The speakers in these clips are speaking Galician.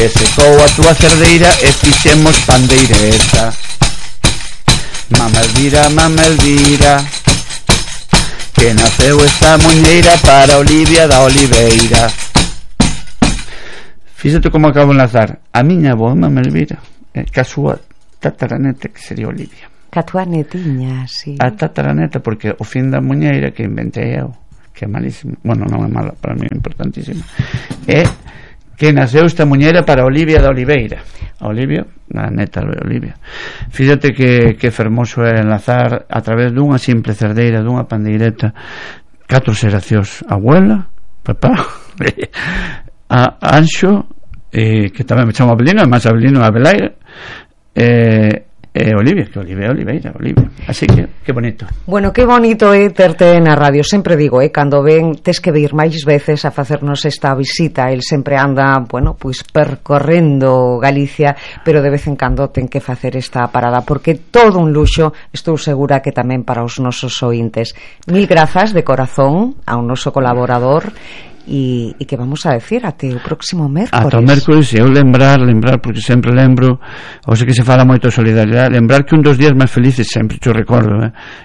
que secou a túa cerdeira e fixemos pandeireta. Mama Elvira, que naceu esta muñeira para Olivia da Oliveira. Fíxate como acabo de enlazar a miña avó, Mama Elvira, que a súa tataraneta, que sería Olivia. Que a túa netiña, sí. A tataraneta, porque o fin da muñeira que inventei eu, que é malísimo, bueno, non é mala, para mí é importantísimo, é que naceu esta muñeira para Olivia da Oliveira. Olivia, a neta de Olivia. Fíxate que fermoso é enlazar a través dunha simple cerdeira, dunha pandeireta, 4 xeracións: abuela, papá, a Anxo, que tamén me chamo Abelino, además Abelino Abelaire, Olivia, que Oliveira. Así que bonito. Bueno, que bonito é terte na radio. Sempre digo, cando ven, tes que vir máis veces a facernos esta visita. El sempre anda, bueno, pois percorrendo Galicia, pero de vez en cando ten que facer esta parada, porque todo un luxo, estou segura que tamén para os nosos ointes. Mil grazas de corazón ao noso colaborador. E que vamos a decir até o próximo mércoles. Ata o mércoles, eu lembrar, porque sempre lembro, ou sei que se fala moito de solidaridade, lembrar que un dos días máis felices, sempre te recordo,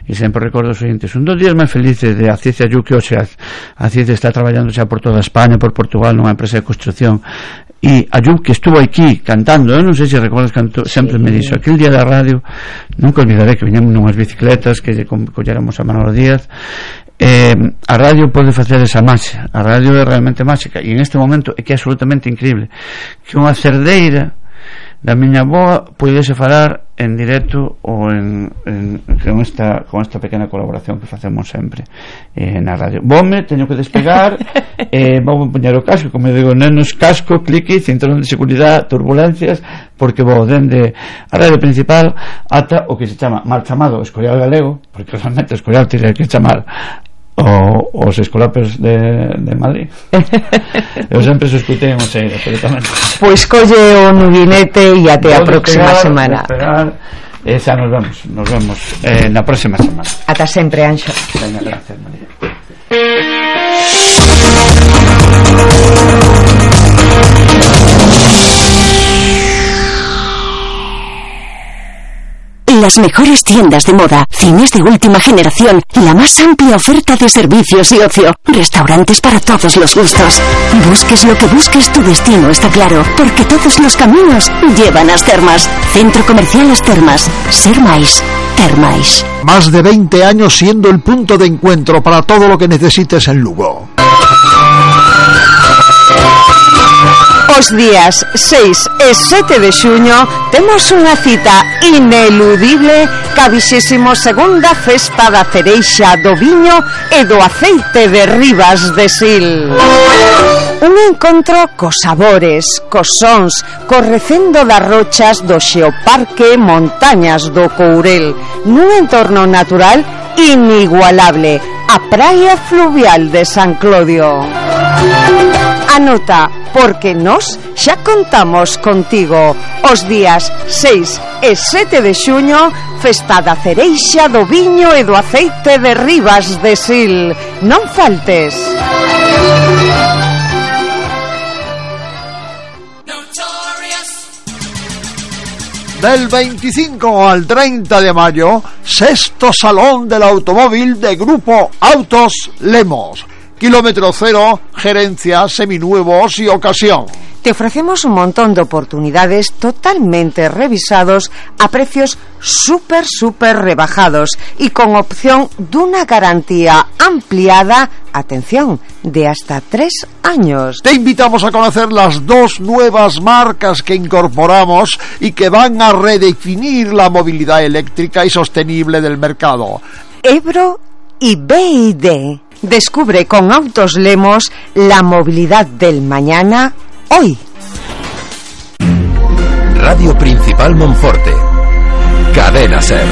e sempre recordo os seguintes, un dos días máis felices de a Cicia Yu, que hoxe a Cicia está traballando xa por toda España, por Portugal, nunha empresa de construcción, e a Yu, que estuvo aquí cantando, eu non sei se recordas, sempre me dixo, aquel día da radio, nunca olvidaré que viñamos nunhas bicicletas que lle colléramos a Manolo Díaz. A radio pode facer esa máxia, a radio é realmente máxica, e en este momento é que é absolutamente increíble que unha cerdeira da miña avoa puidese falar en directo ou con esta pequena colaboración que facemos sempre na radio. Vome, teño que despegar, vou poñer o casco, como digo, nenos, casco, clique, cinturón de seguridade, turbulencias, porque vou dende a radio principal ata o que se chama mal chamado Escorial Galego, porque realmente Escorial tiene que chamar os escolapes de Madrid. Eu sempre se escutei en Oseira, pero tamén pois colle o nuguinete e até a próxima semana. Xa nos vemos na próxima semana. Ata sempre, Anxo. Venga, gracias, María. Las mejores tiendas de moda, cines de última generación, la más amplia oferta de servicios y ocio, restaurantes para todos los gustos. Busques lo que busques, tu destino está claro, porque todos los caminos llevan a As Termas. Centro Comercial As Termas. Ser máis, ter máis. Más de 20 años siendo el punto de encuentro para todo lo que necesites en Lugo. Os días 6 e 7 de xuño temos unha cita ineludible ca 22ª Festa da Cereixa, do Viño e do Aceite de Ribas de Sil. Un encontro cos sabores, cos sons, co recendo das rochas do Xeoparque Montañas do Courel, nun entorno natural inigualable, a praia fluvial de San Clodio. Anota, porque nós xa contamos contigo. Os días 6 e 7 de xuño, Festa da Cereixa, do Viño e do Aceite de Ribas de Sil. Non faltes. Del 25 al 30 de mayo, 6º Salón del Automóvil de Grupo Autos Lemos. Kilómetro cero, gerencia, seminuevos y ocasión. Te ofrecemos un montón de oportunidades totalmente revisados a precios súper rebajados y con opción de una garantía ampliada, atención, de hasta 3 años. Te invitamos a conocer las 2 nuevas marcas que incorporamos y que van a redefinir la movilidad eléctrica y sostenible del mercado. Ebro y BYD. Descubre con Autos Lemos la movilidad del mañana hoy. Radio Principal Monforte. Cadena Ser.